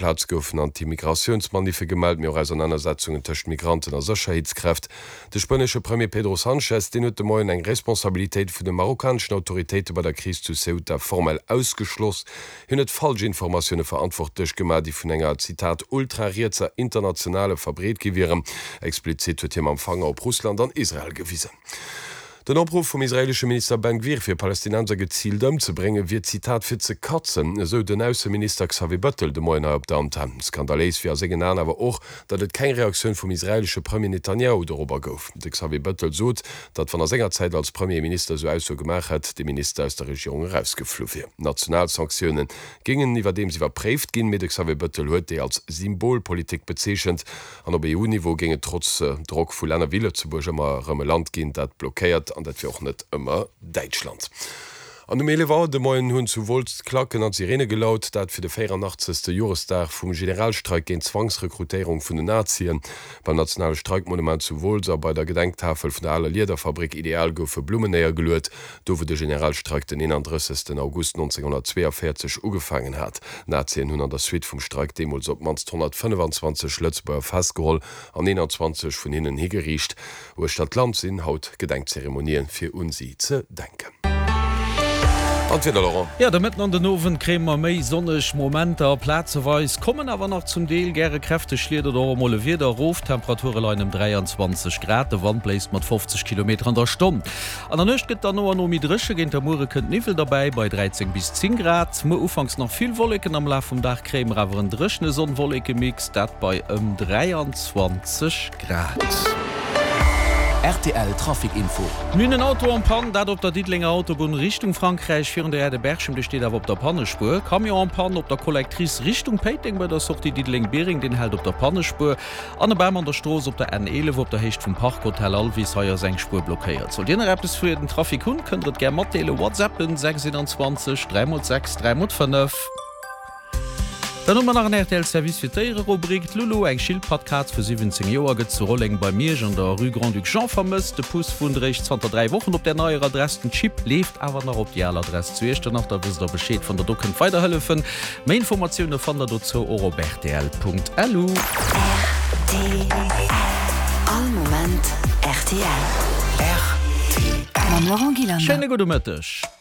Plaz goufen Anti-Migratiouns-Maniffe gemellt, mee och Ausernanersetzungen tëscht Migranten a Sécherheetskräft. De spuenesche Premier Pedro Sanchez, deen huet de Moien eng Responsabilitéit vun de marokkaneschen Autoritéite bei der Kris zu Ceuta formell ausgeschloss. Hien huet falsch Informatioune verantwortlech gemaach, déi vun enger, Zitat, ultrarietser Internationale verbreet gi wieren. Explizit huet hie mam Fanger op Russland an Israel gewisen. Den Opruff vum israeelesche Minister Ben Gvir fir Palästinenser geziilt ëmzebréngen, wier, Zitat, fir ze katzen, esou den Ausseminister Xavier Bettel de Moien hei op der Antenn. Skandaléis wier a sengen Aen awer och, datt et keng Reaktioun vum israeelesche Premier Netanjahu dorobber gouf. De Xavier Bettel sot, datt wann a senger Zäit als Premier Minister esou Aussoe gemaach hätt, de Minister aus der Regierung erausgeflu wier. National Sanktioune géingen iwwerdeems iwwerpréift ginn, mee de Xavier Bettel huet déi als Symbolpolitik bezeechent. An op EU-Niveau géing et trotz Drock vu Länner wéi Lëtzebuerg ëmmer erëm e Land ginn, dat blockéiert, an dat wier och net ëmmer Däitschland. An um 11 Auer de Moien hunn zu Wolz d'Klacken an d'Sirene gelaut, dat fir de 84. Joresdag vum Generalstreik géint d'Zwangsrekrutéierung vun den Nazien. Beim nationale Streikmonument zu Wolz a bei der Gedenktafel vun der aler Liederfabrik Ideal goufe Blummen néiergeluet, do wou de Generalstreik den 31. August 1942 ugefaangen hat. D'Nazien hunn an der Suite vum Streik deemools op d'mannst 125 Lëtzebuerger festgeholl an 21 vun hinnen higeriicht. Uechter d'Land sinn haut Gedenkzeremonien, fir un si ze denken. An d'Wieder, Laurent? Jo, de Mëtten an den Owend kréie mer méi sonneg Momenter, plazeweis kommen awer nach zum Deel gäre kräfteg Schliet oder och emol e Wieder erof. D'Temperature leien ëm 23 Grad, de Wand bléist mat 50 Kilometer an der Stonn. An der Nuecht gëtt dann no an no méi dréche, géint der Muere kënnt Niwwel derbäi bei 13 bis 10 Grad. Muer ufanks nach vill Wolleken, am Laf vum Dag kréie mer awer en dréchene Sonn-Wolleke-Mix, dat bei ëm 23 Grad. Rtl Trafic Info. Mir hunn en Auto en panne, dat op der Diddelenger Autobunn Richtung Frankräich virun der Aire de Berchem, dee steet awer op der Pannespuer. Camion en panne op der Collectrice Richtung Péiteng bei der Sortie Diddeleng-Biereng, deen hält op der Pannespuer. An e Bam an der Strooss op der N 11 op der Héicht vum Park Hotel Alvis. Hei ass eng Spuer blockéiert. Sollt Dir nach eppes fir den Trafic hunn, kënnt der et gär matdeelen. WhatsAppen 6 21 3 x 6 3 x 5. Dann hu mer nach en rtl Service fir d'Déiererubrik. D'Lulu, eng Schildpattkaz vu 17 Joer, gëtt zu Rolleng bei Miersch an der Rue Grand-Duc Jean vermësst. De Puss wunnt eréischt zanter 3 Wochen op där neier Adress. Den Chip leeft awer nach op déi al Adress zu Iechternach. Da wësst der Bescheed, wann der do kënnt weiderhëllefen. Méi Informatioune fannt der dozou och op rtl.lu. Rtl, All Moment rtl. Mam Laurent Gillander. Schéine gudde Mëtteg.